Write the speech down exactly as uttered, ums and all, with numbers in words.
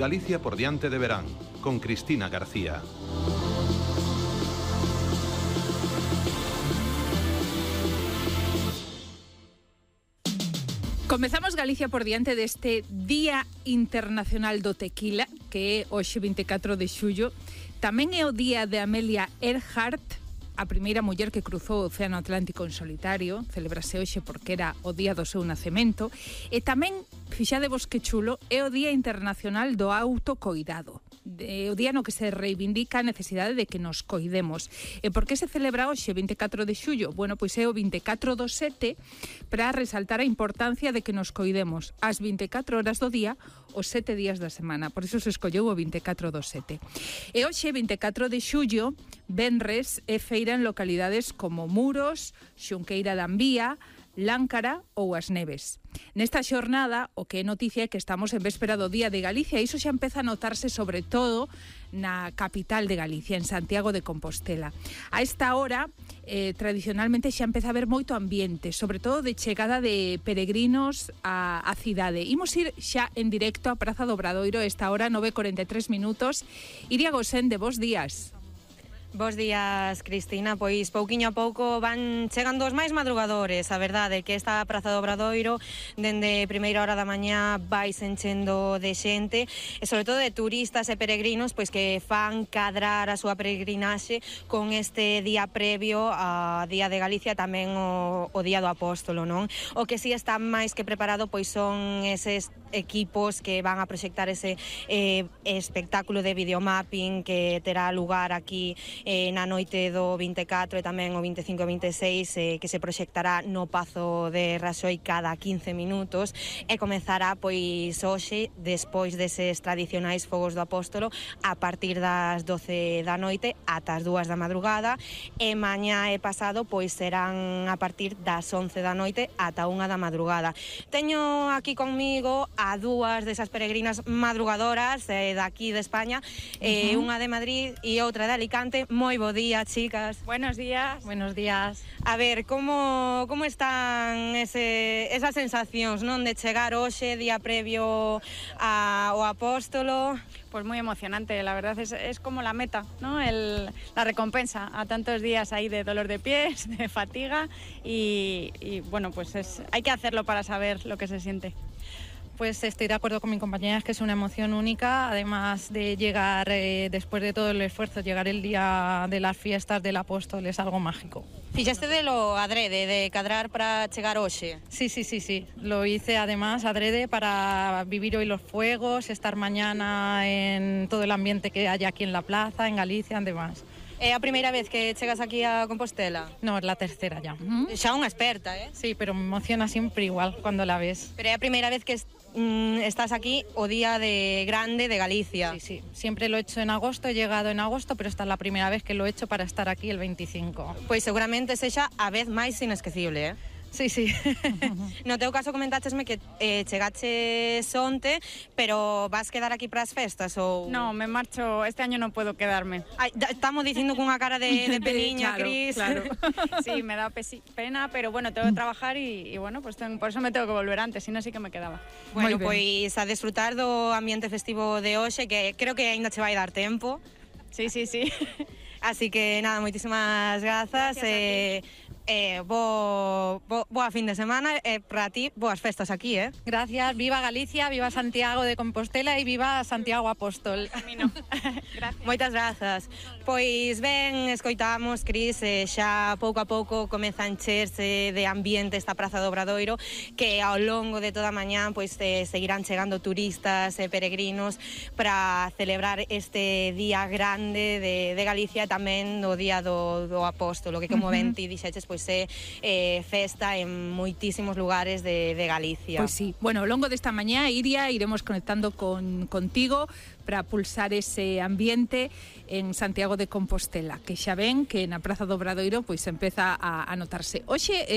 Galicia por diante de verán, con Cristina García. Comezamos Galicia por diante deste Día Internacional do Tequila, que é hoxe vinte e catro de xullo. Tamén é o día de Amelia Earhart, a primeira muller que cruzou o Océano Atlántico en solitario. Celebrase hoxe porque era o día do seu nacemento. E tamén, fixadevos que chulo, é o Día Internacional do Autocoidado. É o día no que se reivindica a necesidade de que nos coidemos. E por que se celebra hoxe, vinte e catro de xullo? Bueno, pois é o vinte e catro do sete para resaltar a importancia de que nos coidemos as vinte e catro horas do día, os sete días da semana. Por iso se escolleu o vinte e catro do sete. E hoxe, vinte e catro de xullo, venres é feira en localidades como Muros, Xunqueira da Ambía, Láncara ou As Neves. Nesta xornada, o que é noticia é que estamos en véspera do Día de Galicia e iso xa empeza a notarse sobre todo na capital de Galicia, en Santiago de Compostela. A esta hora, eh, tradicionalmente xa empeza a haber moito ambiente, sobre todo de chegada de peregrinos á, á cidade. Imos ir xa en directo á Praza do Obradoiro, esta hora nove e corenta e tres minutos. Iria Gosende, bos días. Bos días, Cristina. Pois pouquiño a pouco van chegando os máis madrugadores. A verdade é que esta Praza do Obradoiro dende primeira hora da mañá vai se enchendo de xente e sobre todo de turistas e peregrinos pois que fan cadrar a súa peregrinaxe con este día previo a Día de Galicia, tamén o, o Día do Apóstolo, non? O que si está máis que preparado pois son eses equipos que van a proxectar ese eh, espectáculo de videomapping que terá lugar aquí eh, na noite do vinte e catro e tamén o vinte e cinco e vinte e seis eh, que se proxectará no Pazo de Raxoi cada quince minutos e comezará pois hoxe despois deses tradicionais fogos do Apóstolo a partir das doce da noite ata as dúas da madrugada e mañá e pasado pois serán a partir das once da noite ata unha da madrugada. Teño aquí conmigo a dúas desas peregrinas madrugadoras eh, daqui de España, eh, uh-huh. unha de Madrid e outra de Alicante. Moi bo día, chicas. Buenos días. Buenos días. A ver, como como están ese, esas sensacións, non, de chegar hoxe, día previo a, ao Apóstolo? Pues muy emocionante, la verdad es, es como la meta, ¿no? El, la recompensa a tantos días ahí de dolor de pies, de fatiga y, y bueno, pues es, hay que hacerlo para saber lo que se siente. Pues estoy de acuerdo con mi compañera, es que es una emoción única, además de llegar, eh, después de todo el esfuerzo, llegar el día de las fiestas del Apóstol es algo mágico. Fixaste de lo adrede, de cadrar para chegar hoxe? Sí, sí, sí, sí, lo hice además adrede para vivir hoy los fuegos, estar mañana en todo el ambiente que hay aquí en la plaza, en Galicia, además. É a primeira vez que chegas aquí a Compostela? No, es la tercera ya. Uh-huh. Xa unha experta, eh? Sí, pero me emociona siempre igual cuando la ves. Pero é a primeira vez que mm, estás aquí o día de grande de Galicia. Sí, sí, siempre lo he hecho en agosto, he llegado en agosto, pero esta es la primera vez que lo he hecho para estar aquí el veinticinco. Pois seguramente sexa a vez máis inesquecible, eh? Sí, sí. No teu caso comentáchesme que eh, chegaches onte, pero vas quedar aquí para as festas ou... No, me marcho, este año no puedo quedarme. Ay, estamos dicindo cunha cara de, de peniña, claro, Cris. Claro. Sí, me da pesi- pena, pero bueno, tengo que trabajar y, y bueno, pues tengo, por eso me tengo que volver antes, si no sí que me quedaba. Bueno, pois a desfrutar do ambiente festivo de hoxe, que creo que aínda che vai dar tempo. Sí, sí, sí. Así que nada, moitísimas grazas. Gracias eh, Eh, bo, bo, boa fin de semana e eh, para ti, boas festas aquí, eh? Gracias, viva Galicia, viva Santiago de Compostela e viva Santiago Apóstol. Camino. Gracias. Moitas grazas. Pois ben, escoitamos, Cris, eh, xa pouco a pouco comeza a encherse de ambiente esta Praza do Obradoiro, que ao longo de toda a mañá pois eh, seguirán chegando turistas e eh, peregrinos para celebrar este día grande de, de Galicia, tamén o día do, do Apóstolo, que como uh-huh. ben ti dixeches, pois é eh, festa en moitísimos lugares de, de Galicia. Pois sí, bueno, ao longo desta mañá, Iria, iremos conectando con contigo para pulsar ese ambiente en Santiago de Compostela, que xa ven que na Praza do Obradoiro pois empeza a, a notarse. Hoxe, eh,